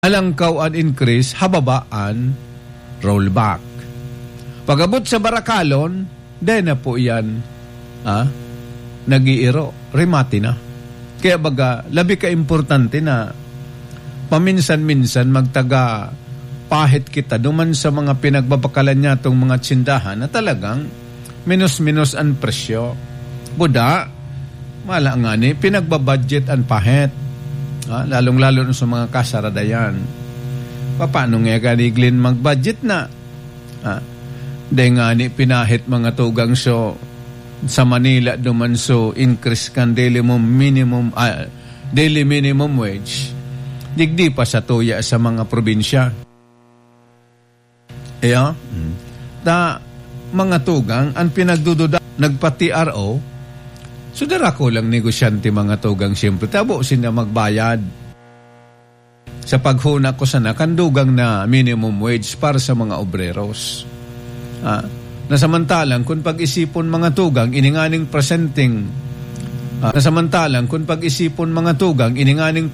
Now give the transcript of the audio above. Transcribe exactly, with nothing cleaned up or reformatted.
alangkaw an increase, hababa an rollback. Pag-abot sa barakalon, dai na po iyan, ah, nag-iiro. Remate na. Kaya baga, labi ka importante na paminsan-minsan magtaga pahit kita duman sa mga pinagbabakalan niyatong mga tsindahan na talagang minos-minos an presyo. Buda, mala ngani, pinagbabudget an pahit. Ah, lalong-lalo na sa mga kasaradayan. Paano nga gani, Glenn, mag-budget na? Ah, dai ngani pinahit, mga tugang, so, sa Manila duman, so, increase kan daily mo-, minimum, ah, daily minimum wage. Digdi pa sa tuya sa mga probinsya. Iyo? Mm. Ta, mga tugang, an pinagdududa, nagpa-T R O, so, darako lang negosyante, mga tugang, siyempre, tabo sinda magbayad sa paghuna ko sana kan dugang na minimum wage para sa mga obreros. Ah, na samantalang kun pag-isipon, mga tugang, ini nganing presenteng, ah, na samantalang kun pag-isipon, mga tugang, ini nganing